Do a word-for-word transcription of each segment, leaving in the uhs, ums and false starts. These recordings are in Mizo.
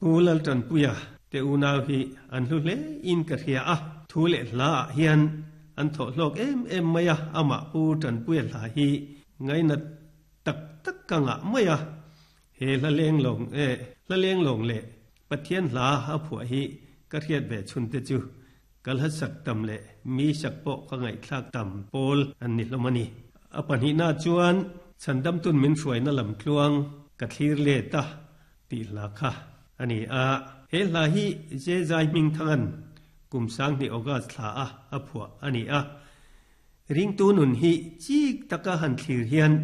Pu Laltanpuia te unau hi an hlu hle in ka hria a, thu leh hla ah hian an thawh hlawk em em mai a, amah Pu Tanpuia hla hi ngainat tak tak ka ngah mai a, he hla leng lawng eh hla leng lawng leh Pathian hla a phuah hi ka hriat ve chhun te chu ka hla sak tam leh mi sak pawh ka ngaihthlak tam pawl an ni hlawm a ni. A pahnihna chuan Chhandamtun min hruaina lam tluang ka thlir let a tih hla kha a ni a. He hla hi Jezai hmingthangan kum sanghnih August thla a a phuah a ni a. Ringtu nun hi chik taka han thlir hian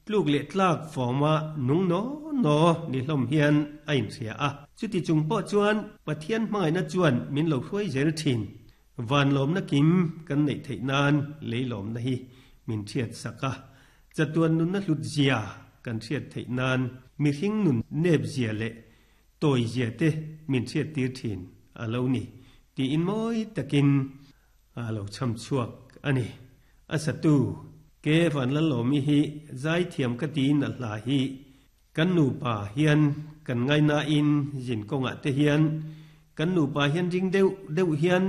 tluk leh tlak fawma nung naw naw ni hlawm hian a inhria a. Chuti chung pawh chuan Pathian hmangaihna chuan min lo hruai zel thin. Van lawmna kim kan neih theih nan lei lawmna hi min hriat sak a. Chatuan nunna hlut zia kan hriat theih nan mihring nun nep zia leh tawi zia te min hriat tir thin a lo ni tiin mawi takin a lo cham chhuak a ni. A satu Ke Vanlalawmi hi zaithiam ka tiin a hla hi kan nupa hian kan ngainain zin kawngah te hian kan nupa hian ring deuh deuh hian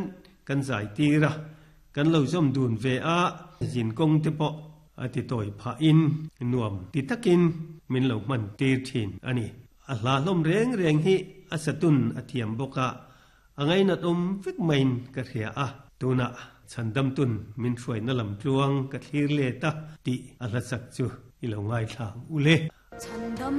kan zai tir a, kan lo zawm dun ve a, zin kawng te pawh a ti tawi phahin nuam ti takin min lo hman tir thin a ni. A hla hlawm reng reng hi a satun a thiam bawk a, a ngainat awm vek maiin ka hria a, tunah Chhandamtun min hruaina lam tluang ka thlir let a tih a hla sak chu i lo ngaithla ang u le. Chhandam